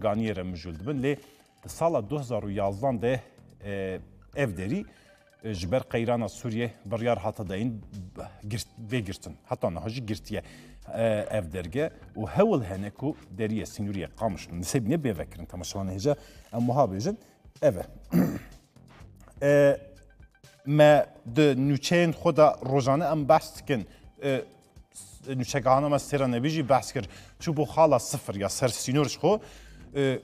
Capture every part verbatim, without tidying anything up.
ganiyê re mijûl dibin. Lê di sala du hezar û yazdan de, e, ev derî, e, ji ber qeyrana Sûriyê biryar hate dayîn, girt-, vê girtin. Heta niha jî girtiye, e, ev derge û hewl hene ku deriyê sînoriyê Qamişlo Nisêbînê bê vekirin. Temaşevanê hêja em wiha bêjin, ev e. E, me di nûçeyên xwe de rojane em behs dikin. E, nûçegahana me Sêra Nebî jî behs kir. Çûbû xala sifir ya ser sînor ji xwe. E,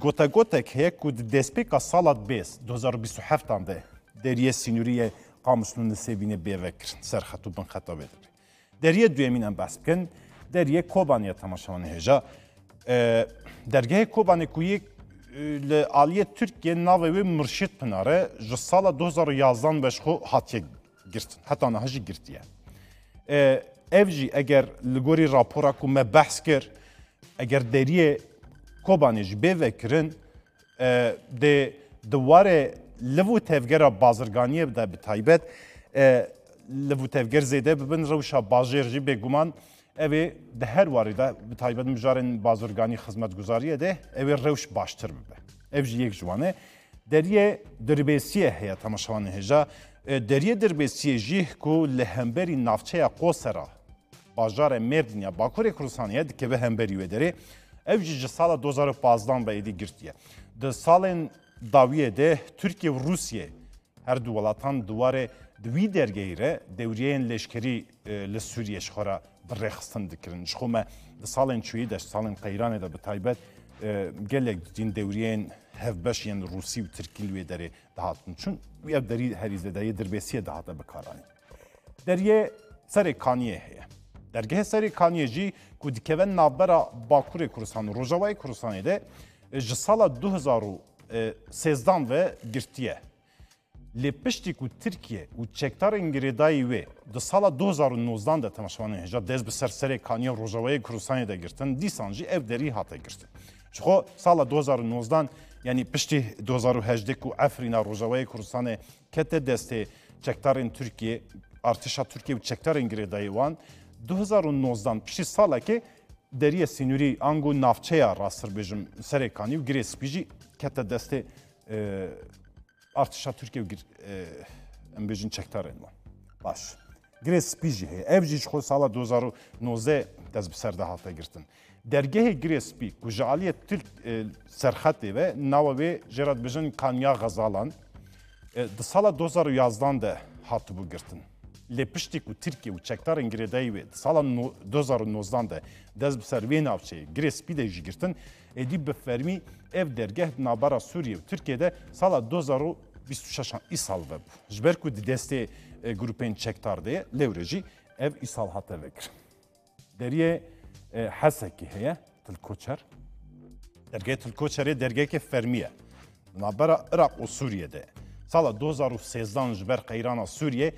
gotegotek heye ku di destpêka sala bêst, du hezar û bîst û heft an de deriyê sînorî yê Qamişlo Nisêbînê bê vekirin. Serxet û binxeta wê derê. Deriyê duyemîn em behs bikin. Deriyê Kobanê ye, temaşevanê hêja. E, dergehê Kobanê ku yê, e, li aliyê Tirkiyê navê wê Murşîd Pinar e, ji sala du hezar û yazdan ve ji xwe hatiye girtin. Heta niha jî girtiye. E, ev jî eger li gorî rapora ku me behs kir, eger deriyê Kobanê jî bê vekirin, e, dê di warê liv û tevgera bazirganiyê de bi taybet, e, liv û tevger zêde bibin, rewşa bajêr jî bêguman ew ê di her warê de bi taybet mijarên bazirganî xizmetguzariyê de ew ê rewş baştir bibe. Ev jî yek ji wan e. Deriyê Dirbêsiyê heye, temaşevanê hêja. E, deriyê Dirbêsiyê jî ku li hemberî navçeya Qosera, bajarê Mêrdîn ya Bakurê Kurdistanê ye, dikeve hemberî wê derê. Ew jî ji sala du hezar û pazdan ve êdî girtiye. Di salên dawiyê de Tirkiye û Rûsye her du welatan di warê di wî dergehî re dewriyeyên leşkerî, e, li Sûriyê ji xwe re bi rêxistin dikirin. Ji xwe me di salên çûyî de, salên qeyranê de bi taybet, e, gelek dîn dewriyeyên hevbeş yên Rûsî û Tirkî li wê derê dihatin çûn. Ev derî herî zêde yê Dirbêsiyê dihate bikaranîn. Deriyê Serê Kaniyê heye. Dergehê Serê Kaniyê jî ku dikeve navbera Bakurê Kurdistan û Rojavayê Kurdistanê de, e, ji sala du hezar û sêzdan ve girtiye. Lê piştî ku Tirkiye û çekdarên girêdayî wê di sala du hezar û nozdan de, temaşevanên hêja, dest bi ser Serê Kaniyê Rojavayê Kurdistanê de girtin, dîsan jî ev derî hate girtin. Ji xwe sala du hezar û nozdan, yanî piştî du hezar û hejdeh ku Efrîna Rojavayê Kurdistanê kete destê çekdarên Tirkiyê, artêşa Tirkiyê û çekdarên girêdayî wan, du hezar û nozdan piştî salekê deriyê sînorî ango navçeya rasttir bêjim Serê Kanî û Girê Spî jî kete destê, e, artêşa Tirkiyê û gir-, e, em bêjin çekdarên wan. Baş. Girê Spî jî heye. Ev jî ji xwe sala du hezar û nozdeh dest bi ser de hate girtin. Dergehê Girê Spî ku ji aliyê Tirk, e, serxetê ve, nava wê jê re dibêjin Kanya Xezalan, e, di sala du hezar û yazdan de hatibû girtin. Lê piştî ku Tirkiye û çekdarên girêdayî wê di sala no-, du hezar û nozdan de dest bi ser vê navçeyê Girê Spî de jî girtin, êdî bi fermî ev dergeh di navbera Sûriyê û Tirkiyê de sala du hezar û bîst û şeş an îsal vebû. Ji ber ku di destê, e, grûpên çekdar de ye, lewre jî ev îsal hate vekirin. Deriyê, e, Hesekî heye, Til Koçer. Dergehê Til Koçerê dergeheke fermî ye. Di navbera Iraq û Sûriyê de. Sala du hezar û sêzdan ji ber qeyrana Sûriyê,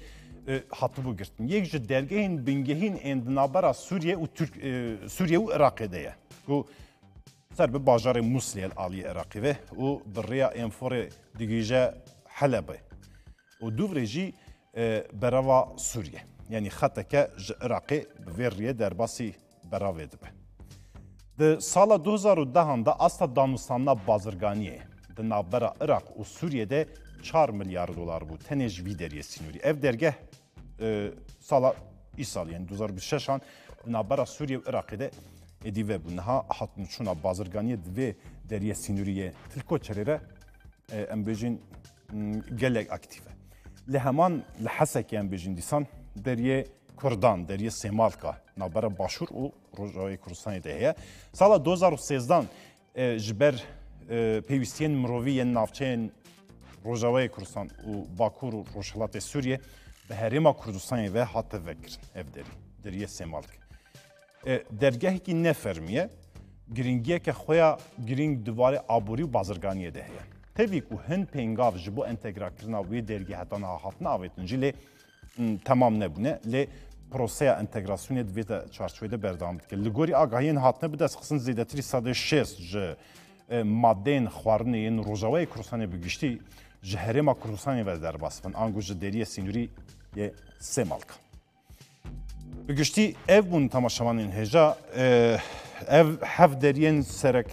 e, hatibû girtin. Yek ji dergehên bingehîn ên di navbera Sûriyê û Tirk-, e, Sûriyê û Iraqê de ye. Ku ser bi bajarê Muslê li aliyê Iraqê ve û bi rêya Enforê digihîje Helebê. Û dûvre jî, e, berava Sûriyê. Yanî xeteke ji Iraqê bi vê riyê derbasî beravê dibe. Di sala du hezar û dehan de asta danûstandina bazirganiyê di navbera Iraq û Sûriyê de çar milyar dolar bû. Tenê ji vî deriyê sînorî. Ev dergeh, e, sala îsal, yanî du hezar û bîst û şeş an di navbera Sûriyê û Iraqê de êdî vebû. Niha hatûnçûna bazirganiyê di vê deriyê sînorî yê Til Koçerê re e, em bêjin, m, gelek aktîf e. Li heman li Hesekê em bêjin dîsan deriyê Kurdan, deriyê Sêmalka, navbera Başûr û Rojavayê Kurdistanê de heye. Sala du hezar û sêzdan, e, ji ber, e, pêwîstiyên mirovî yên navçeyên Rojavayê Kurdistan û Bakur û Rojhilatê Sûriyê bi Herêma Kurdistanê ve hate vekirin ev derî, deriyê Sêmalk. E, dergehekî ne fermî ye, giringiyeke xwe ya girîng di warê aborî û bazirganiyê de heye. Tevî ku hin pêngav ji bo entegrakirina wê dergehê heta niha hatine avêtin jî lê, m, temam nebûne, lê proseya entegrasyonê di vê de çarçovê de berdewam dike. Li gorî agahiyên hatine bidestxistin zêdetirî sedê şêst ji, e, madeyên xwarinê yên Rojavayê Kurdistanê bi giştî ji Herêma Kurdistanê ve derbas bin, ango ji deriyê sînorî yê Sêmalka. Bi giştî ev bûn temaşevanên hêja, e, ev heft deriyên sereke